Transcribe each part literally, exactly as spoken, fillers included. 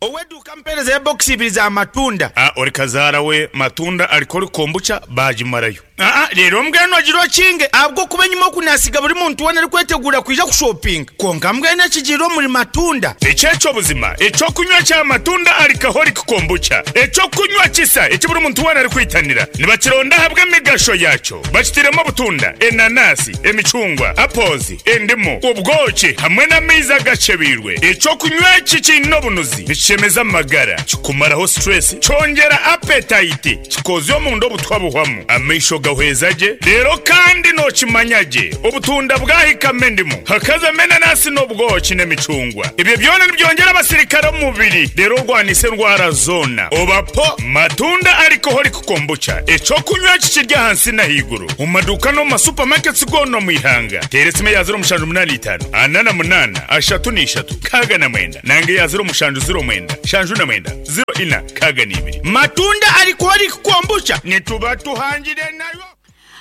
Oweduka mpereza ya box ibiri za matunda. Ah, ori kazaara we matunda alikoli kombucha bagimarayo. Ah, rero mbwenu agirwa kinge abwo kuba nyuma kunasiga buri muntu wena ari kwetegura kuija kushopping. Konka mbwenu ekigiro muri matunda. Ekyekyo buzima, ekyokunywa kya matunda alcoholic kombucha. Ekyokunywa kisa ekiburi muntu wena ari kwitanira. Nibakironda habwe emigasho yakyo. Bakitiremo obutunda, enanasi, emicungwa, apples, endimu, ubwoki hamwe n'amaizi agacebirwe. Ekyokunywa eki kiine obunuzi, nikishemeza amagara, kikumaraho stress, kyongera appetite, kikozya omunda obutwa buhwamu, amaisho gahweza gye, rero kandi nokimanya gye, obutunda bwahikamo endimu, hakazamo enanasi n'obwoki n'emicungwa. Ebyo byona nibyongera abasirikare omu mubiri, rero orwanisa endwara zoona. Obapo matunda alcoholic kombucha, ekyokunywa eki kirya ahansi n'ahaiguru, omu maduuka n'omu masupamaketi goona omu ihanga. Teera esimu eya ziro mushanju munaana itaano, ana na munaana, ashatu n'ishatu, nkaaga na mwenda, nanga eya ziro mushanju ziro mwenda, shanju na mwenda, ziro ina, nkaaga n'ibiri. Matunda alcoholic kombucha nituba tuhangire nayo.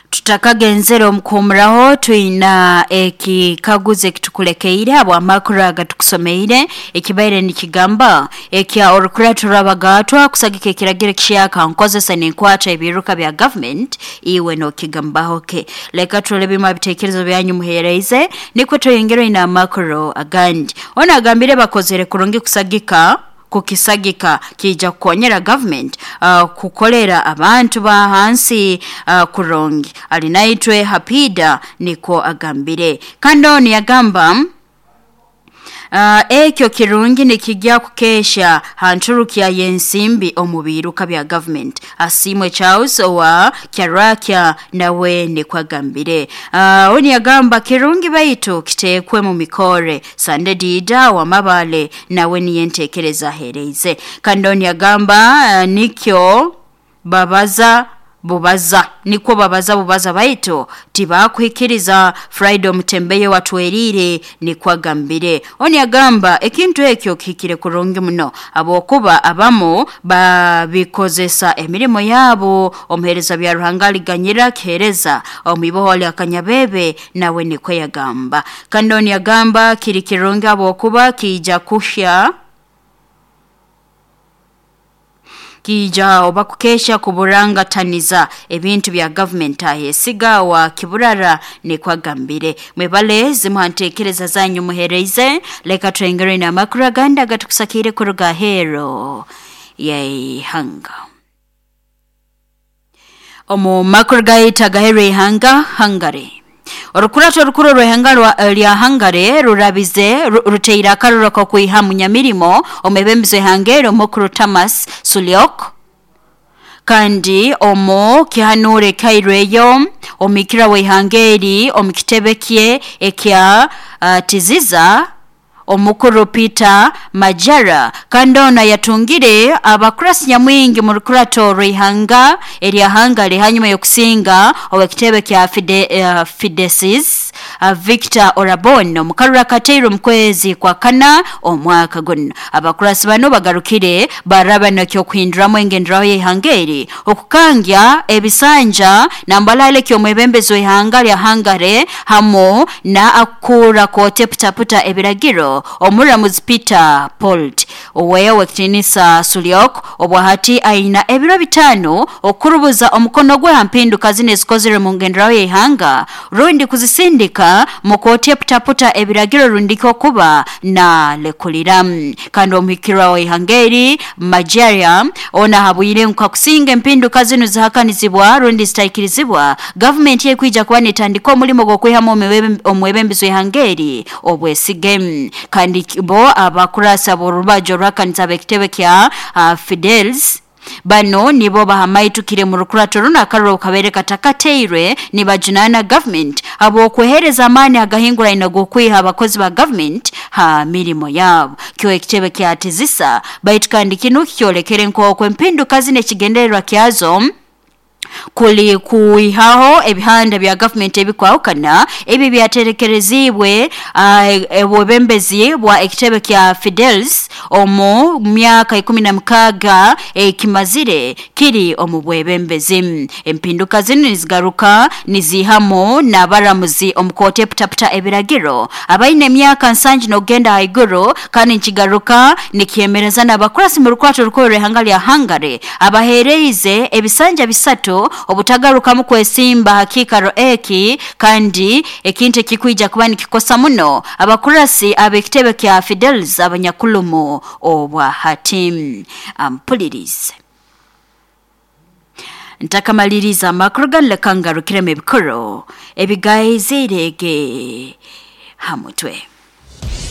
Tutakagenzera omukumuraho twina ekikaguzo ekitukulekeire abo amakuru agatukusomeire ekibaire nikigamba ekya orukurato rw'abagatwa kusagika ekiragiro ekishaka nkozesa n'enkwata ebiruka bya government iwe nokigambaho ke. Leka turole bimwe ebitekerezo byanyu muhereize nikwo tuyongere ina amakuru agandi. Ona agambire bakozere kurungi kusagika kukisagika kija kukonyera government uh, kukolera abantu ba hansi uh, kurungi. Alinaitwe Hapida niko agambire. Kando ni agamba Uh, ekyo kirungi nikijya kukesha hanturukia yensimbi omubiruka bya government. Asimwe Charles owa Kyarakia nawe nikwagambire. Uh, oni agamba kirungi baitu kitekwe mu mikore. Sande Dida wa Mabale nawe niyentekereza hereize. Kandoni agamba uh, nikyo babaza bubaza niko babaza bubaza baitu tibakuhikiriza Friday mutembeye watwerire nikwagambire. Oni agamba ekintu ekyo kihikire kurungi muno abokuba abamo babikozesa emirimo yabo. Omuhereza bya Ruhanga liganyira kihereza omuibohole akanyabebe nawe niko yagamba. Kandoni agamba kiri kirungi abokuba kija kuhya kija oba kukesha kuburanga taniza ebintu bya government ahesiga wa kiburara nikwagambire. Mwebale zimuhantekereza zanyu muhereize. Leka twengere na makuru aganda gatukusakire kuruga hero yeihanga. Omu makuru gaita gahero ihanga Hungary. Orukurato rukuru rw'ihanga lya Hungary rurabize ruteira akaruro ko kwiha munyamirimo omwebembezo ihangero mukuru Thomas Sulyok kandi omo kihanure kaireyo omikira w'ihangeri omukitebe kye ekya uh, tiziza omukuru Peter Majara. Kandona yatungire abakurasi nyamwingi mu rukurato rw'ihanga erya Hungary hanyuma yokusinga owekitebe kya Fide, uh, Fidesis uh, Victor Orabon omukarura kateiro mkwezi kwa kana omwaka guno. Abakurasi bano bagarukire baraba nakyo kuhinduramu engenderaho y'ihangeri okukangya ebisanja nambalale kyo mwebembezo ihanga lya Hungary hamo na akura kote putaputa ebiragiro omuramuzi Peter Polt oweyo wekitinisa Sulyok obwahati aina ebiro bitano okurubuza omukono gwe hampinduka zine zikozere mu ngenderaho y'ihanga rundi kuzisindika mukote putaputa ebiragiro rundiko kuba na lekulira. Kandi omuhikirwa w'ihangeri Majaria ona habwire nkakusinga empinduka zino zihakanizibwa rundi zitaikirizibwa government yekwija kuba nitandika omulimo gw'okwihamu omwebembezo w'ihangeri obwesige. Kandi bo abakurasa borubajo rwakanisa bekitebe kya uh, Fidels bano nibo bahamaitukire mu rukurato runa akaruro kabere katakateirwe nibajunana government abo kwehereza amani agahingura inago kwiha abakozi ba government ha mirimo yabo. Kyo ekitebe kya tizisa baitu kandi kinu kyolekere nko kwempinduka zine kigendererwa kyazo kuli kuihaho ebihanda bya government ebikwahukana ebi byaterekerezibwe uh, ebwebembezi bwa ekitebe kya Fidels omu myaka ikumi na mukaga ekimazire kiri omu bwebembezi. Empinduka zinu nizigaruka nizihamu n'abaramuzi omu kooti eputaputa ebiragiro abaine emyaka nsanju n'okugenda haiguru, kandi nkigaruka nikyemereza n'abakurasi mu rukwato rukuru rw'ihanga lya Hungary abaheereize ebisanja bisatu obutagarukamu kwesimba hakikaro eki, kandi ekintu ekikwija kuba nikikosa muno abakurasi ab'ekitebe kya Fidesz abanyakulumu obwa hati. Ampulirize ntakamaliriza amakuru ganu, leka ngarukiremu ebikuru ebigaizirege ha mutwe.